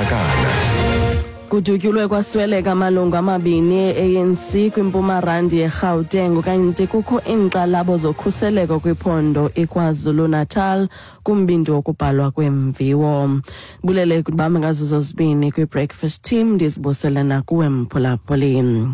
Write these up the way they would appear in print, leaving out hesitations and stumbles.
Ngakana. Kudutyulwe kwasweleka amalungu amabini e-ANC kwiMpuma Randi yeGauteng kanti kukho iinkxalabo zokhuseleko kwiphondo iKwaZulu-Natal kumbindi wokubhalwa kweemviwo. Bulele kubambe ngazo zozibini kwi-breakfast team ndizibusele nakuwe mphulaphuli.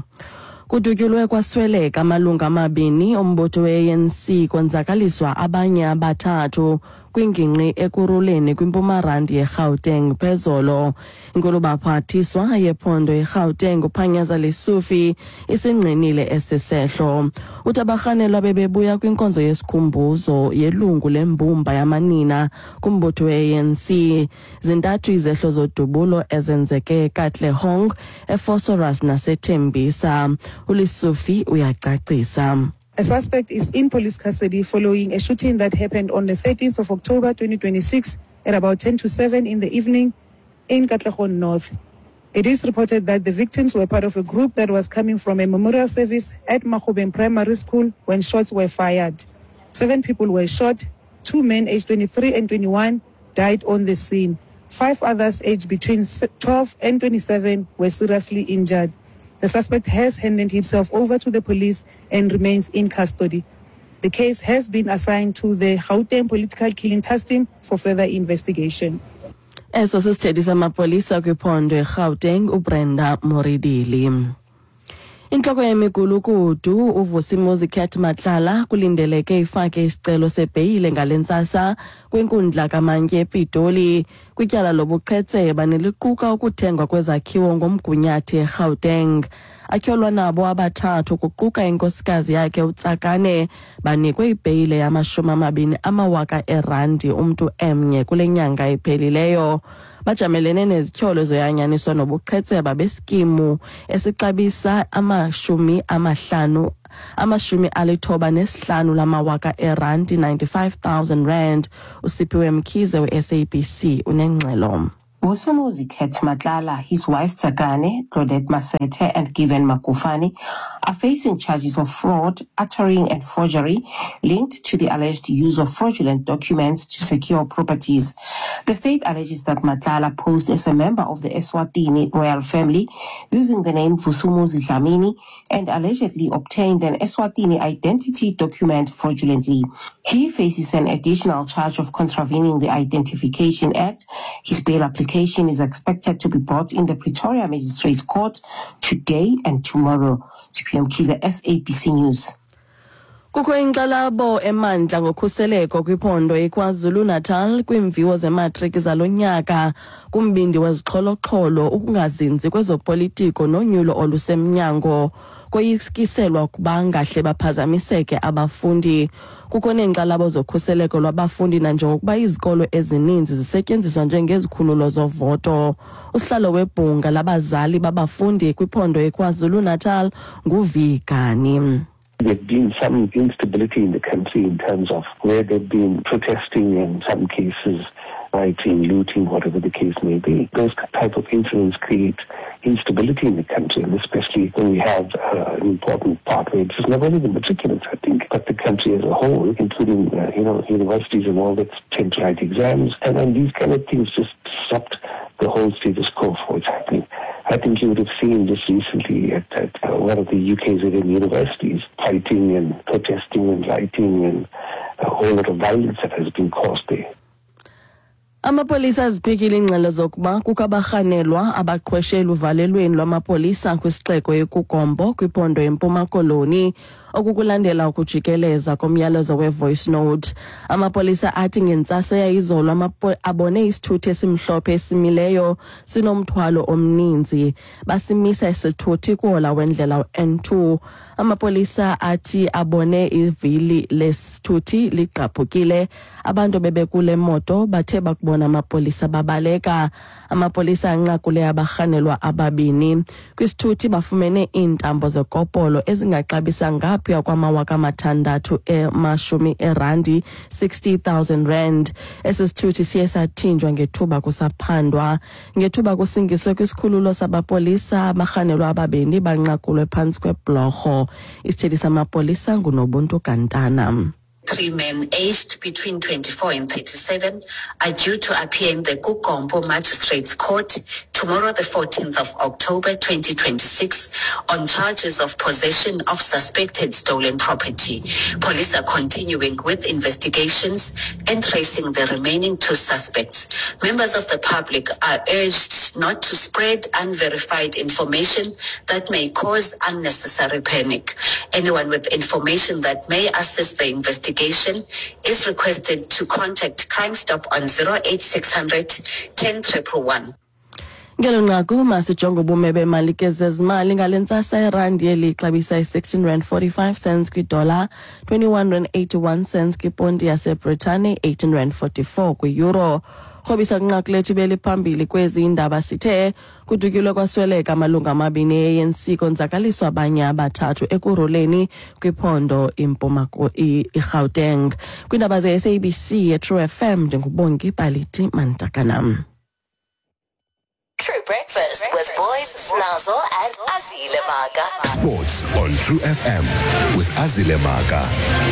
Kudutyulwe kwasweleka amalungu amabini ombutho we-ANC konzakaliswa abanye abathathu kwingingqi Ekurhuleni kwiMpuma Randi yeGauteng phezolo. Inkulubaphathiswa yephondo iGauteng uPanyaza Lesufi isingqinile esi sehlo. Uthi abarhanelwa bebebuya kwinkonzo yesikhumbuzo yelungu lembumba yamanina kumbutho we-ANC. Zintathu izehlo zodubulo ezenzeke eKatlehong, eVosloorus naseTembisa. ULesufi uyacacisa. A suspect is in police custody following a shooting that happened on the 13th of October 2026 at about 10 to 7 in the evening in Katlehong North. It is reported that the victims were part of a group that was coming from a memorial service at Mahobeng Primary School when shots were fired. 7 people were shot. 2 men aged 23 and 21 died on the scene. 5 others aged between 12 and 27 were seriously injured. The suspect has handed himself over to the police and remains in custody. The case has been assigned to the Gauteng Political Killing Task Team for further investigation. Eso sisithethi samapolisa kwiphondo eGauteng uBrenda Muridili. Intloko yemigulukudu uVusimuzi Cat Matlala kulindeleke ifake isicelo sebheyile ngale ntsasa kwinkundla kamantyi ePitoli kwityala lobuqhetseba neliquka ukuthengwa kwezakhiwo ngomgunyathi eGauteng. Atyholwa nabo abathathu kuquka inkosikazi yakhe uTsakane banikwe ibheyile yama-20 amawaka erandi umntu emnye kule nyanga iphelileyo. Bajamelene nezityholo zoyanyaniswa nobuqhetseba beskimu esixabisa 95 lamawaka erandi, 95,000 rand. USiphiwe Mkhize we-SABC unengxelo. Vusimuzi Cat Matlala, his wife Tsakane, Claudette Masete, and Given Makufani are facing charges of fraud, uttering and forgery linked to the alleged use of fraudulent documents to secure properties. The state alleges that Matlala posed as a member of the Eswatini royal family using the name Vusumuzi Dlamini and allegedly obtained an Eswatini identity document fraudulently. He faces an additional charge of contravening the Identification Act. His bail application is expected to be brought in the Pretoria Magistrates Court today and tomorrow. Siphiwe Mkhize, SABC News. Kukho inkxalabo emandla ngokhuseleko kwiphondo iKwaZulu-Natal kwiimviwo zematriki zalo nyaka kumbindi wezixholoxholo, ukungazinzi kwezopolitiko nonyulo olusemnyango. Koyikiselwa ukuba ngahle baphazamiseke abafundi. Kukho neenkxalabo zokhuseleko lwabafundi nanjengokuba izikolo ezininzi zisetyenziswa njengezikhululo zovoto. Usihlalo webhunga labazali babafundi kwiphondo iKwaZulu-Natal nguVigani. There's been some instability in the country in terms of where they've been protesting, in some cases rioting, looting, whatever the case may be. Those type of incidents create instability in the country, and especially when we have an important part where it's not only the matriculants, I think, but the country as a whole, including, universities and all that tend to write exams. And then these kind of things just disrupt the whole status quo for what's happening. I think you would have seen just recently at one of the UKZN universities fighting and protesting and rioting and a whole lot of violence that has been caused there. Amapolisa aziphikile iingxelo zokuba kukho abarhanelwa abaqhweshe eluvalelweni lwamapolisa kwisixeko eKuGompo kwiphondo eMpuma Koloni, okukulandela ukujikeleza komyalezo we-voice note. Amapolisa athi ngentsasa yayizolo abone isithuthi esimhlophe esimileyo sinomthwalo omninzi. Basimisa isithuthi kuhola wendlela u-N2. Amapolisa athi abone ivili lesithuthi ligqabhukile. Abantu bebekule moto bathe bakubona amapolisa babaleka. Amapolisa anqakule abarhanelwa ababini. Kwisithuthi bafumene iintambo zekopolo ezingaxabisa ngaphaya kwama-600 emashumi erandi, 60,000 rand. Esi sithuthi siye sathinjwa ngethuba kusaphandwa. Ngethuba kusingiswe kwisikhululo sabapolisa, abarhanelwa ababini banqakulwe phantsi kweblorho. Isithethi samapolisa nguNobuntu Gantana. Three men aged between 24 and 37 are due to appear in the Kugompo Magistrates Court tomorrow, the 14th of October 2026, on charges of possession of suspected stolen property. Police are continuing with investigations and tracing the remaining two suspects. Members of the public are urged not to spread unverified information that may cause unnecessary panic. Anyone with information that may assist the investigation is requested to contact Crime Stop on 08600 10111. Ngelo nqaku masijonge ubume bemali ke zezimali ngale ntsasa. Irandi yeli ixabisa i-16 rand 45 cents kwidola, 21 rand 81 cents kwiponti yaseBritane, 18 rand 44 kwi-euro. Rhobisa kwinqaku lethu beliphambili kwezi indaba, sithe kudutyulwe kwasweleka amalungu amabini e-ANC, konzakaliswa abanye abathathu Ekurhuleni kwiphondo iMpuma iGauteng. Kwiindaba ze-SABC eTrue FM, ndinguBongi Paliti Mantakanam. True Breakfast with Boys, Snazzle, and Azile Maga. Sports on True FM with Azile Maga.